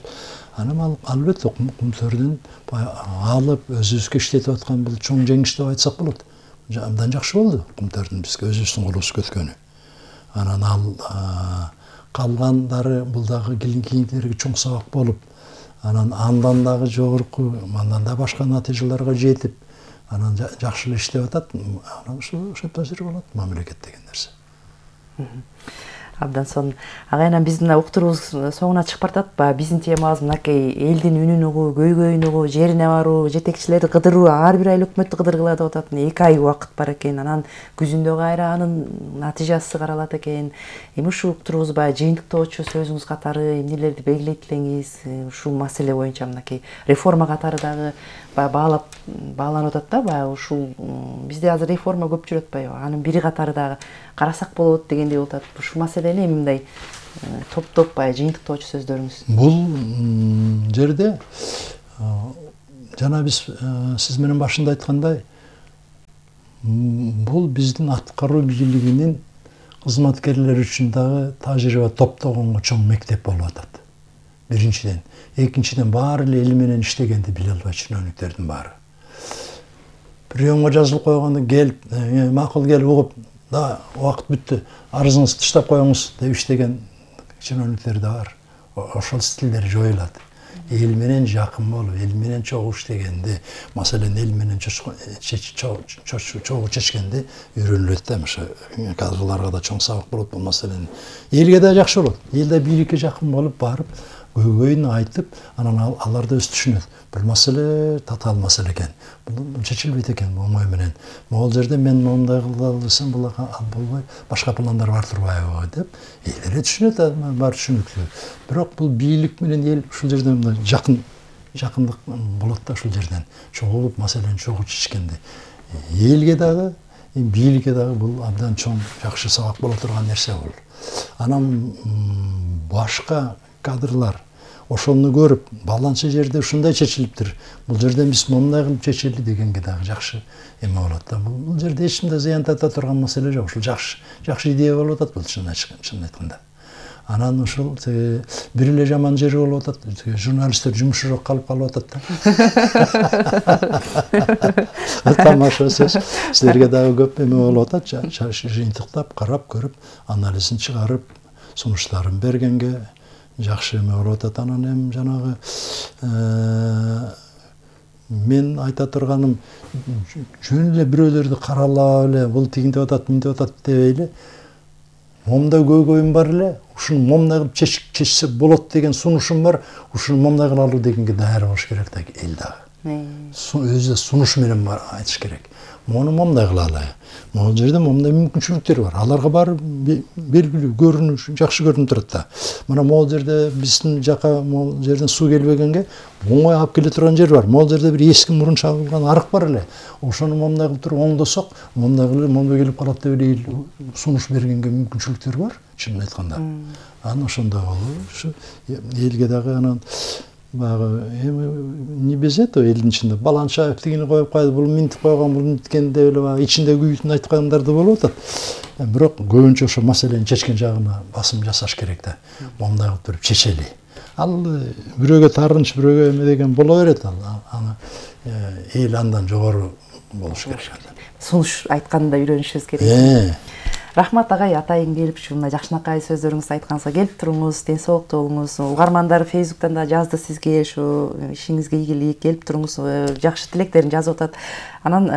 Анан албетте кумтөрдүн алып өзүбүзгө иштетип аткан бул чоң жеңиш деп айтсак болот. Абдан жакшы болду кумтөрдүн бизге өзүбүздүн колубуз көткөнү. Анан ал калгандары бул дагы кийинкилерге чоң сабак болуп, анан андан дагы жогорку, андан да башка натыйжаларга жетип, анан жакшы эле иштеп атат, анан ушул ошентип жүрүп болот мамлекет деген нерсе.
Абдан сонун. Агайынан биздин уктуруубуз соңуна чыгып баратат. Баягы биздин темабыз мынакей элдин үнүн угуу, көйгөйүн угуу, жерине баруу, жетекчилерди кыдыруу, ар бир айыл өкмөттү кыдыргыла деп атат. эки ай убакыт бар экен. Анан күзүндө кайра анын натыйжасы каралат экен. Эми ушул уктуруубуз баягы жыйынтыктоочу сөзүңүз катары эмнелерди белгилейт элеңиз? Ушул маселе боюнча мынакей реформа катары дагы баягы баалап бааланып атат да, баягы ушул бизде азыр реформа көп жүрүп атпайбы? Анын бири катары дагы карасак болот дегендей болуп атат. Ушул маселени эми мындай топтоп баягы жыйынтыктоочу сөздөрүңүз.
Бул жерде жана биз сиз менен башында айткандай, бул биздин аткаруу бийлигинин кызматкерлери үчүн дагы тажрыйба топтогонго чоң мектеп болуп атат. Биринчиден, экинчиден баары эле эл менен иштегенди биле албайт чиновниктердин баары. Приемга жазылып койгондо келип, макул келип угуп, да убакыт бүттү, арызыңызды тыштап коюңуз деп иштеген чиновниктер да бар. Ошол стилдер жоюлат. Эл менен жакын болуп, эл менен чогуу иштегенди, маселен эл менен чогуу чечкенди үйрөнүлөт да. Ошо кадрыларга да чоң сабак болот бул маселени. Элге да жакшы болот. Эл да бийликке жакын болуп барып, көйгөйүн айтып, анан алар да өз түшүнөт. Бул маселе татаал маселе экен. Бул чечилбейт экен оңой менен. Могул жерде мен мондай кылалы десем, бул болбой, башка пландар бар турбайбы деп, эл эле түшүнөт, бар түшүнүктүү. Бирок бул бийлик менен эл ушул жерде мындай жакын жакындык болот да ушул жерден. Чогуу маселени чогуу чечкенди. Элге дагы, бийликке дагы бул абдан чоң жакшы сабак боло турган нерсе бул. Анан башка кадрлар ошону көрүп, баланча жерде ушундай чечилиптир. Бул жерде биз мондай кылып чечели дегенге дагы жакшы эме болот да. Бул жерде эч кандай зыян тарта турган маселе жок. Ушул жакшы, жакшы идея болуп атат бул чын айтканда. Анан ушул бир эле жаман жери болуп атат. Журналисттер жумушу жок калып калып атат да. Тамаша сөз. Силерге дагы көп эме болуп атат. Жыйынтыктап, карап көрүп, анализин чыгарып, сунуштарын бергенге жакшы эме болуп атат. Анан эми жанагы мен айта турганым, жөн эле бирөөлөрдү каралап эле бул тигинтип атат, мынтип атат дебей эле, момундай көйгөйүм бар эле, ушуну момундай кылып чечсе болот деген сунушум бар, ушуну момундай кылалы дегенге даяр болуш керек да эл дагы. Өзү сунуш менен айтыш керек. Мону момундай кылалы. Могул жерде момундай мүмкүнчүлүктөр бар. Аларга баары белгилүү, көрүнүш, жакшы көрүнүп турат да. Мына могул жерде биздин жака могул жерден суу келбегенге оңой алып келе турган жер бар. Могул жерде бир эски мурун чабылган арык бар эле. Ошону момундай кылып туруп оңдосок, момундай кылып момундай келип калат деп эле сунуш бергенге мүмкүнчүлүктөр бар, чынын айтканда. Анан ошондой болуп, ушу элге дагы анан баягы эми не безет о элдин ичинде Баланчаев тигини коюп кайды, бул минтип койгон, бул минткен деп эле баягы ичинде күйүүтүн айткандар да болуп атат. Бирок көбүнчө ошо маселени чечкен жагына басым жасаш керек да. Момундай кылып туруп чечели. Ал бирөөгө тарынч, бирөөгө эме деген боло берет ал. Аны эл андан жогору болуш керек.
Сунуш айтканды да үйрөнүшүбүз керек. Рахмат агай, атайын келип ушундай жакшынакай сөздөрүңүздү айтканыңызга келип туруңуз, ден соолуктуу болуңуз. Угармандар Фейсбуктан да жазды сизге, ушу ишиңизге ийгилик, келип туруңуз, жакшы тилектерин жазып атат. Анан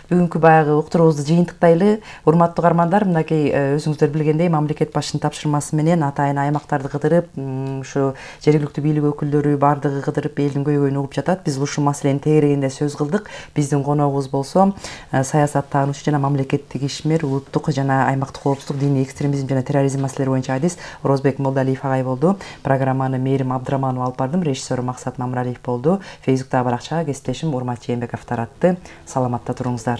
бүгүнкү баягы уктуруубузду жыйынтыктайлы. Урматтуу угармандар, мынакей өзүңүздөр билгендей, мамлекет башчынын тапшырмасы менен атайын аймактарды кыдырып, ушу жергиликтүү бийлик өкүлдөрү баардыгы кыдырып элдин көйгөйүн угуп жатат. Биз ушул маселени тегерегинде сөз кылдык. Биздин коногубуз болсо саясаттануучу жана мамлекеттик ишмер, улуттук жана аймактык коопсуздук, диний экстремизм жана терроризм маселелери боюнча адис Орозбек Молдалиев агай болду. Программаны Мээрим Абдыраманова алып бардым, режиссеру Максат Мамыралиев болду. Фейсбуктагы баракчага кесиптешим Урмат Жээнбеков таратты. Саламатта туруңуздар.